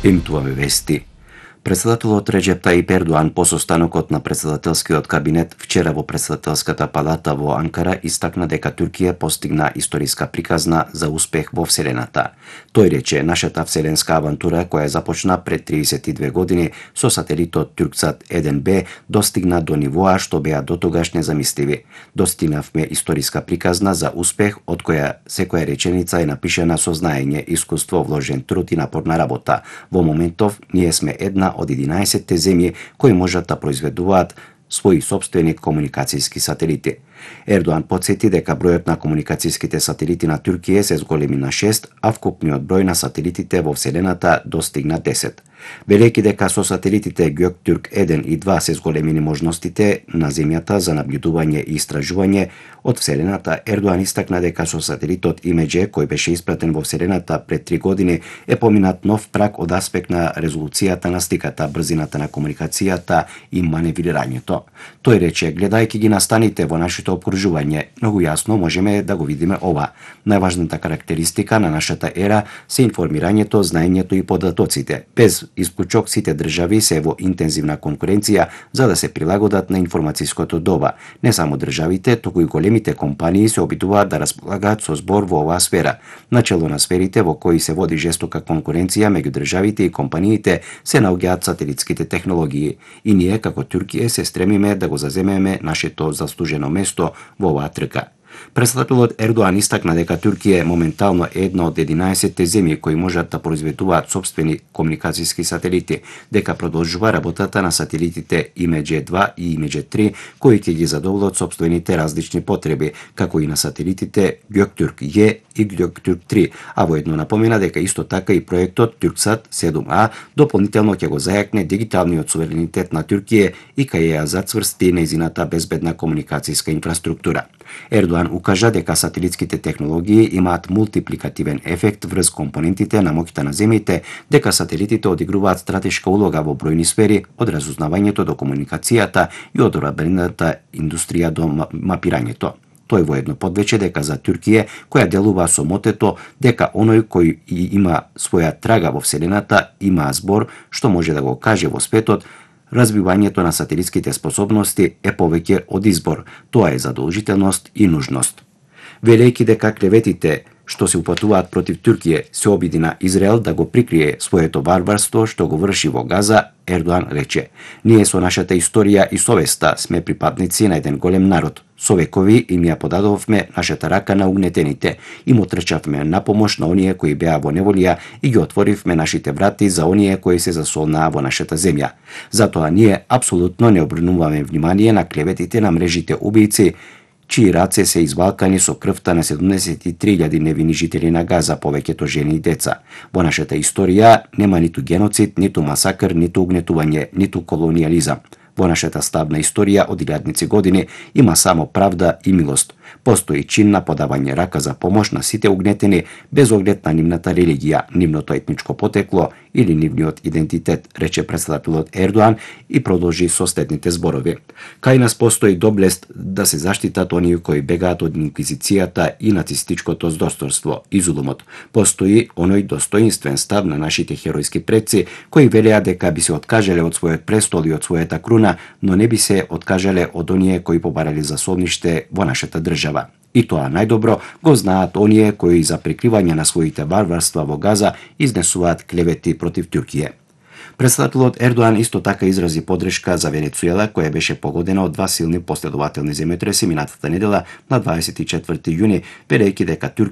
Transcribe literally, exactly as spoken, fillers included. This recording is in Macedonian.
Емтуваме вести. Председателот Реџеп Тајип Ердоан по состанокот на председателскиот кабинет вчера во председателската палата во Анкара истакна дека Туркија постигна историска приказна за успех во Вселената. Тој рече: нашата вселенска авантура, која започна пред триесет и две години со сателитот Турксат еден бе, достигна до нивоа што беа дотогаш незамисливи. Достигнавме историска приказна за успех од која секоја реченица е напишана со знаење, искуство, вложен труд и напорна работа. Во моментов ние сме една од единаесетте земји кои можат да произведуваат своји сопствени комуникацијски сателити. Ердоан потсети дека бројот на комуникацијските сателити на Туркија се зголеми на шест, а вкупниот број на сателитите во Вселената достигна десет. Велејќи дека со сателитите Ѓоктурк еден и два се зголемени можностите на Земјата за набљудување и истражување од Вселената, Ердоан истакна дека со сателитот Имеџе, кој беше испратен во Вселената пред три години, е поминат нов праг од аспект на резолуцијата на сликата, брзината на комуникацијата и маневрирањето. Тој рече: гледајќи ги настаните во нашето обкружување, многу јасно можеме да го видиме ова. Најважната карактеристика на нашата ера се информирањето, знаењето и податоците. Без исклучок сите држави се во интензивна конкуренција за да се прилагодат на информацијското доба. Не само државите, туку и големите компании се обидуваат да располагаат со збор во оваа сфера. Начело на сферите во кои се води жестока конкуренција меѓу државите и компаниите се наоѓаат сателитските технологии. И ние како Туркија се стремиме да го заземеме нашето заслужено место во оваа трка. Председателот Ердоан истакна дека Туркија е моментално една од единаесетте земји кои можат да произведуваат сопствени комуникацијски сателити, дека продолжува работата на сателитите Имеџе два и Имеџе три, кои ќе ги задоволат сопствените различни потреби, како и на сателитите Ѓоктурк Ј и Ѓоктурк три, а воедно напомена дека исто така и проектот Турксат седум А дополнително ќе го зајакне дигиталниот суверенитет на Туркија и кај ја зацврсти нејзината безбедна комуникацијска инфраструктура. Ердоан укажа дека сателитските технологии имаат мултипликативен ефект врз компонентите на моќта на земјите, дека сателитите одигруваат стратешка улога во бројни сфери, од разузнавањето до комуникацијата и од одбраната индустрија до мапирањето. Тој воедно подвече дека за Туркија, која делува со мотето дека оној кој има своја трага во Вселената има збор што може да го каже во светот, развивањето на сателитските способности е повеќе од избор, тоа е задолжителност и нужност. Велејќи дека клеветите што се упатуваат против Туркија се обиди на Израел да го прикрие своето варварство што го врши во Газа, Ердоан рече: ние со нашата историја и совеста сме припадници на еден голем народ. Со векови им ја подадовме нашата рака на угнетените, им отрчавме на помош на оние кои беа во неволија и ги отворивме нашите врати за оние кои се засолнаа во нашата земја. Затоа ние апсолутно не обрнуваме внимание на клеветите на мрежите убијци, чии раце се извалкани со крвта на седумдесет и три илјади невини жители на Газа, повеќето жени и деца. Во нашата историја нема ниту геноцид, ниту масакр, ниту угнетување, ниту колониализам. Во нашата стабна историја од илјадници години има само правда и милост. Постои чин на подавање рака за помош на сите угнетени без оглед на нивната религија, нивното етничко потекло или нивниот идентитет, рече председателот Ердоан и продолжи со следните зборови: кај нас постои доблест да се заштитат оние кои бегаат од инквизицијата и нацистичкото здосторство и зулумот. Постои оној достоинствен став на нашите херојски предци кои велеа дека би се откажале од својот престол и од својата круна, но не би се откажале од оние кои побарале засолниште во нашата држава. И тоа најдобро го знаат оние кои за прикривање на своите варварства во Газа изнесуваат клевети против Туркија. Председателот Ердоан исто така изрази подршка за Венецуела, која беше погодена од два силни последователни земјотреси минатата недела на дваесет и четврти јуни, велејќи дека Туркија